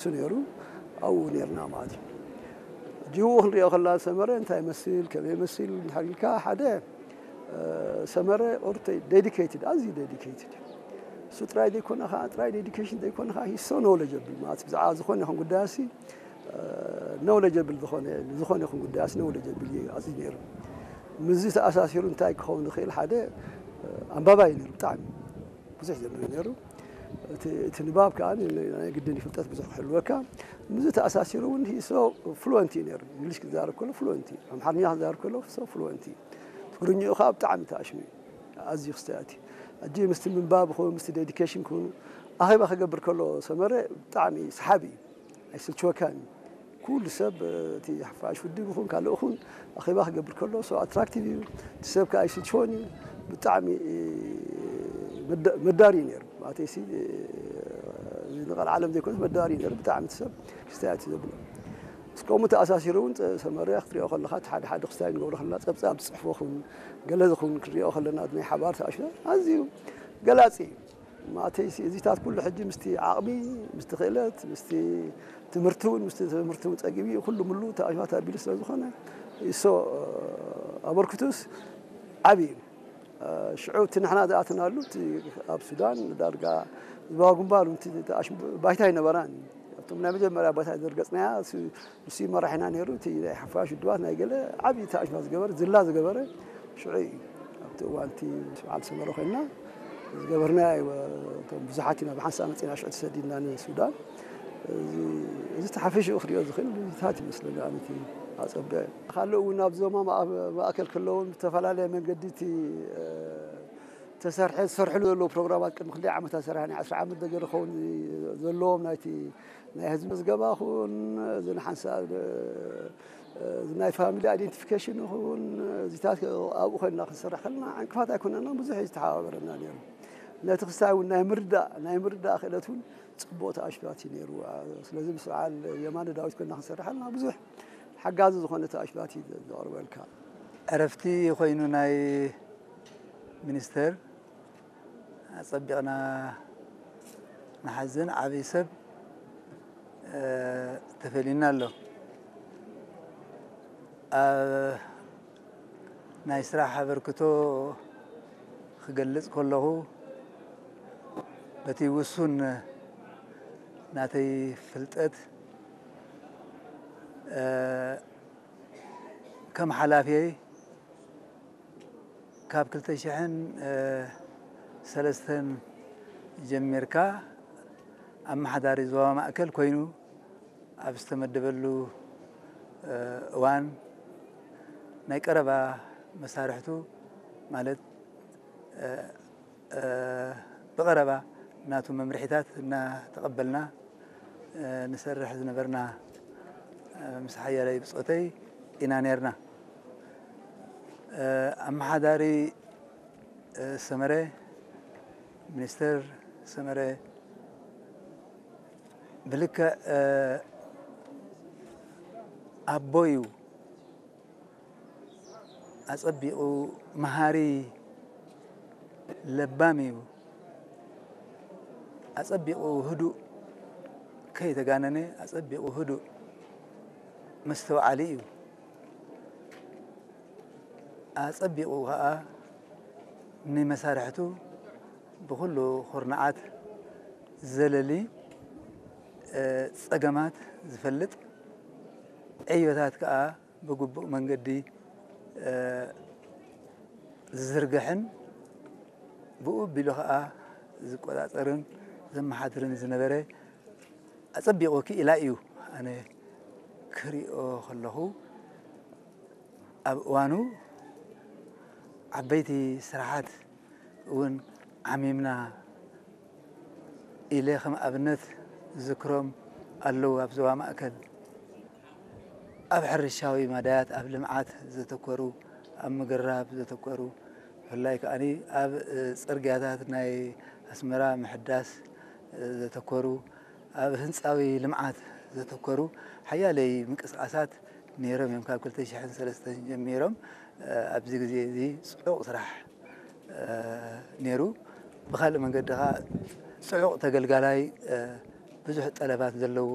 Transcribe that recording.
እሱ ነይሩ። ኣብኡ ነርና ማለት እዩ። ሕጂ ብኡ ክንሪኦ ከላ ሰመረ እንታይ ይመስል፣ ከመይ ይመስል እንድሕር ኢልካ፣ ሓደ ሰመረ ኦርተ ዴዲኬትድ፣ ኣዝዩ ዴዲኬትድ። እሱ ጥራይ ዘይኮነ ከዓ፣ ጥራይ ዴዲኬሽን ዘይኮነ ከዓ ሂሶ ኖውለጀብል ማለት ብዛዕባ ዝኾነ ይኹን ጉዳያሲ ኖውለጀብል ዝኾነ፣ ዝኾነ ይኹን ጉዳያሲ ኖውለጀብል እዩ ኣዝዩ ነይሩ። ምስዚ ተኣሳሲሩ እንታይ ክኸውን ይኽእል፣ ሓደ ኣንባባይ ነይሩ ብጣዕሚ ብዙሕ ዘንብብ ነይሩ። እቲ ንባብ ከዓ ናይ ግድን ፍልጠት ብዙሕ ክህልወካ። ምስዚ ተኣሳሲሩ እውን ሂሶ ፍሉወንት እዩ ነይሩ። እንግሊሽ ክዛረብ ከሎ ፍሉወንት እዩ፣ ኣምሓርኛ ክዛረብ ከሎ ሶ ፍሉወንት እዩ። ትግርኛኡ ከዓ ብጣዕሚ ተኣሽሙ እዩ። ኣዝዩ ክስተያት እዩ። ሕጂ ምስቲ ምንባብ ይኹን ምስቲ ዴዲኬሽን ክኹን ኣኼባ ክገብር ከሎ ሰመረ ብጣዕሚ ሰሓቢ እዩ። ኣይስልችወካን እዩ። ኩሉ ሰብ እቲ ሓፋሽ ውድብ ይኹን ካልእ ይኹን ኣኼባ ክገብር ከሎ ሶ ኣትራክቲቭ እዩ። እቲ ሰብ ከዓ ኣይስልችዎን እዩ። ብጣዕሚ መዳሪ እዩ ነይሩ። ማለተይሲ ንቐልዓለም ዘይኮነስ መዳሪ እዩ ነይሩ። ብጣዕሚ እቲ ሰብ ክስተያት እዩ ዘብሎ። ምስ ከምኡ ተኣሳሲሩ እውን ሰመርያ ክትሪኦ ከለኻ እቲ ሓደ ሓደ ክስታይ ንገብሮ ከለና ጸብጻብ ዝጽሕፎ ኹን ገለ ዝኹን ክንሪኦ ከለና ናይ ሓባር ተኣሽና ኣዝዩ ገላጺ እዩ። ማለተይሲ እዚታት ኩሉ ሕጂ ምስቲ ዓቕሚ፣ ምስቲ ክእለት፣ ምስቲ ትምህርቲ እውን፣ ምስቲ ትምህርቲ እውን ጸጊቡ እዩ። ኩሉ ምሉ ተኣሽባት ኣቢሉ ስለ ዝኾነ ይሶ ኣበርክቱስ ዓቢ እዩ። ሽዑ እቲ ንሕና ዝኣተናሉ እቲ ኣብ ሱዳን ዳርጋ ዝባባ ግንባር እውን እቲ ተኣሽ ባይታ ኣይነበራን። ኣብቶም ናይ መጀመርያ ቦታ ዘርገጽናያ ንሱ መራሒና ነይሩ። እቲ ናይ ሓፋሽ ውድባት ናይ ገለ ዓቢ ተኣሽማ ዝገበረ ዝላ ዝገበረ ሽዑ እዩ። ኣብቲ እዋን እቲ በዓል ሰመረ ኮይንና ዝገበርናዮ እቶም ብዙሓት ኢና ብሓንሳእ መፂና ሽዑ ተሰዲድና ንሱዳን። እዚ ተሓፊሽኡ ክሪኦ ዝኽእል ታት ይመስለኒ ኣነቲ ኣፀብዕ ካልእ እውን ኣብ ዞማ ማእከል ከለውን ብዝተፈላለየ መንገዲ እቲ ተሰርሐ ዝሰርሕሉ ዘለዉ ፕሮግራማት ቅድሚ ክንደይ ዓመታት ሰሪሐ ናይ ዓስራ ዓመት ነገር ክኸውን ዘለዎም ናይቲ ናይ ህዝቢ ምዝገባ ይኹን እዚ ንሓንሳብ እዚ ናይ ፋሚሊ ኣይደንቲፊኬሽን ይኹን እዚታት ኣብኡ ኮይንና ክንሰርሕ ከለና ዕንቅፋት ኣይኮነና ብዙሕ እዩ ዝተሓባበረና ነይሩ። ነቲ ክስታይ እውን ናይ ምርዳእ ናይ ምርዳእ ክእለት እውን ፅቡቕ ተኣሽባት እዩ ነይሩ። ስለዚ ምስ በዓል የማነ ዳዊት ኮይንና ክንሰርሕ ከለና ብዙሕ ሓጋዚ ዝኾነ ተኣሽባት እዩ ዘቕርበልካ። ዕረፍቲ ኮይኑ ናይ ሚኒስተር ኣጸቢቕና ንሓዝን ዓብዪ ሰብ ተፈልዩና ኣሎ። ኣብ ናይ ስራሕ ኣበርክቶ ክገልጽ ከለኹ በቲ ውሱን ናተይ ፍልጠት ከም ሓላፊየይ ካብ ክልተ ሽሕን ሰለስተን ጀሚርካ ኣመሓዳሪ ዞባ ማእከል ኮይኑ ኣብ ዝተመደበሉ እዋን ናይ ቀረባ መሳርሕቱ ማለት ብቐረባ ናቱ መምርሒታት እናተቐበልና ንሰርሕ ዝነበርና ምስ ሓያለይ ብጾተይ ኢና ነርና። ኣመሓዳሪ ሰመረ፣ ሚኒስተር ሰመረ ብልክዕ ኣቦ እዩ። ኣጸቢቑ መሃሪ ለባም እዩ። ኣጸቢቑ ህዱእ ከይተጋነነ ኣጸቢቑ ህዱእ መስተውዓሊ እዩ። ኣጸቢቑ ኸኣ ንመሳርሕቱ ብኹሉ ኩርናዓት ዘለሊ ጸገማት ዝፈልጥ ዕዮታት ከኣ ብግቡእ መንገዲ ዝዝርግሕን ብኡ ኣቢሉ ኸኣ ዝቆጻጸርን ዘመሓድርን ዝነበረ ኣጸቢቑ ክኢላ እዩ። ኣነ ክሪኦ ከለኹ ኣብ እዋኑ ዓበይቲ ስራሓት እውን ዓሚምና ኢለ ከም ኣብነት ዝዝክሮም ኣለዉ። ኣብ ዞባ ማእከል ኣብ ሕርሻዊ ማዳያት ኣብ ልምዓት ዘተኮሩ ኣብ ምግራብ ዘተኮሩ ብፍላይ ከኣ ኣብ ፅርግያታት ናይ ኣስመራ ምሕዳስ ዘተኮሩ ኣብ ህንፃዊ ልምዓት ዘተኮሩ ሓያለይ ምንቅስቃሳት ነይሮም እዮም ካብ ክልተ ሽሕን ሰለስተን ጀሚሮም ኣብዚ ግዜ እዚ ፅዑቕ ስራሕ ነይሩ። ብካልእ መንገዲ ከዓ ፅዑቕ ተገልጋላይ ብዙሕ ጠለባት ዘለዎ